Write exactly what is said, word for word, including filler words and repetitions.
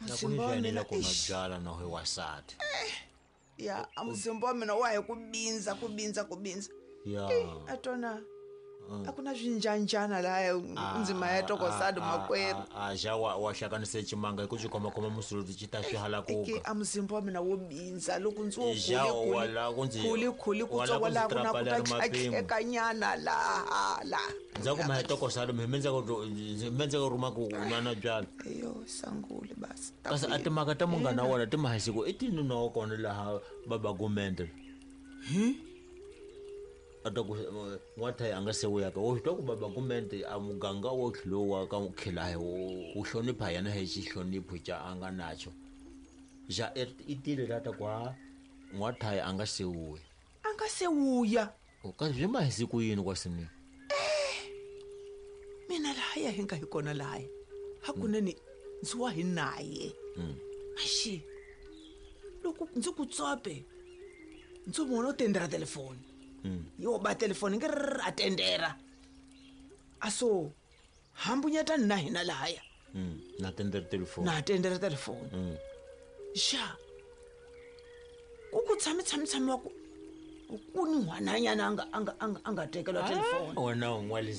Na ku Muzimba wa ni mina, ku nwa eish. byala na hi wasati. Ya, a muzimba wa mina wa hi ku bindza, ku bindza, ku bindza. Ya. A tona a ku na swinjanjana lahaya ndzima ya tokosadi makwerhu. A ja wa wa hlanganise chimanga hi ku xi khomakhoma musuluti xi ta swi Eke halakuka. a muzimba wa mina wo bindza loko ndzi wo Ja, khuli wala ku ndzi- khuli khuli wala ku kutsongo ndzi laha ku na ku trapa ta leri mapimo. tlhatlhekanyana laha laha. Ndzhaku ma hi tokosadi mi mendze ku mendze ku ruma ku nwa na byala. Eyo sangule basi. Ta Kasi ku a yini? timhaka ta munghana wa wena ti mahisiku i tini nwa wa kona laha baba gumende. A ta ku n'wathayi a nga se vuyaka wo swi twa ku baba gumende a muganga wo tlhelo ka khilahi wu hlonipha yena hi xihlonipho xa a nga nacho. Ja i tile la ta ku ha n'wathayi a nga se vuya. A nga se vuya. Kasi byi mahisiku yini kwasini? Mina lahaya hi nga hi kona lahaya. Hakunene ndzi wa hi naye. Axi loko ndzi ku tsope ndzi vona u tendera telefoni. Yo ba telefoni ngi a tendera. A so hambunyetani na hina lahaya. Na tendera telefoni. Na tendera telefoni. Xa ku ku tshami tshami tshami wa ku ku ni n'wananyana a nga a nga a nga a nga tekela telefoni. Wena u n'walisi